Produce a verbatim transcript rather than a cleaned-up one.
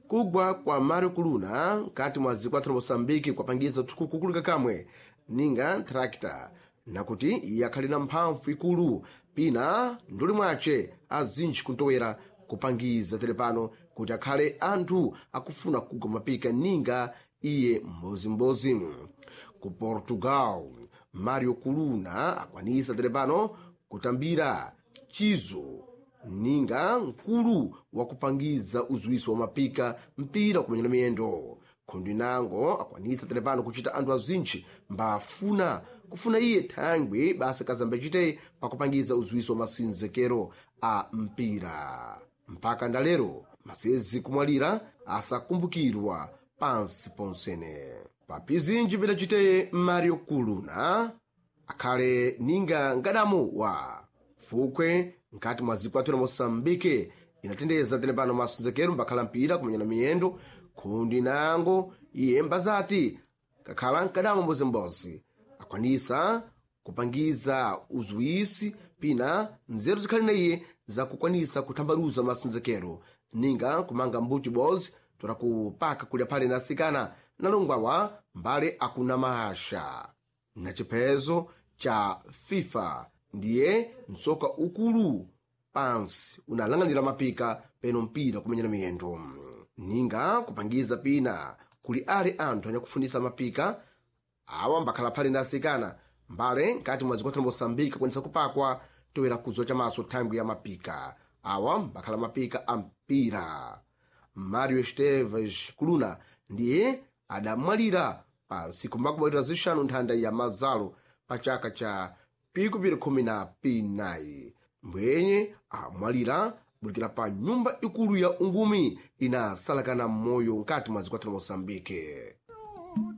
Kugwa kwa Mario Kuluna nkati mwa ziko athu la Moçambique kwapangiza kukulika kamwe ninga tractor nakuti iye akhali na mphamvu ikulu pina nduli mwace azinji kuntowera kupangiza telepano kuti akhale anthu akufuna kugwa mapika ninga iye mbozimbozi. Ku Portugal, Mario Kuluna akwanisa telepano kutambira chizo ninga mkulu wakupangiza uziwiso wa mapika mpira kumenyera miyendo. Khundi nango akwanisa telepano kuchita anthu azintchi mbafuna kufuna iye thangwi basa kazambe chite pakupangiza uziwiso wa masinzekero a mpira. Mpaka ndalero masezi kumwalira asakumbukirwa pansi ponsene. Papizinji pidaciteye Mario Kuluna akhale ninga ngadamu wa fukwe nkati mwa ziko athu la Moçambique inatendeza telepano masonzekero mbakhala mpira kumenyana miyendo. Khundi nango iye mbazati kakhala mkadamo mbozimbozi akwanisa kupangiza uziwisi pina nzeru zikhali na iye zakukwanisa kuthambaluza masonzekero ninga kumanga mbuti bozi tola kupaka kulya phale na asikana nalongwawa mbale akuna mahasha na chiphezo cha FIFA ndiye msoka ukulu pansi unalang'anira mapika peno mpira kumenyera miyendo ninga kupangiza pina kuli ali anthu anyakufunisa mapika awa mbakhala phale na asikana mbale nkati mwa ziko la Moçambique akwanisa kupakwa toera kuzwa chamaso thangwi ya mapika awa mbakhala mapika a mpira. Mario Esteves Kuluna ndiye adamwalira pa ntsiku makumi zixanu nthanda ya mazalo pa chaka cha pikupiri khumi na pinayi. Mbwenye amwalira bulikira pa nyumba ikulu ya ungumi inasalakana moyo nkati mwa ziko la Moçambique.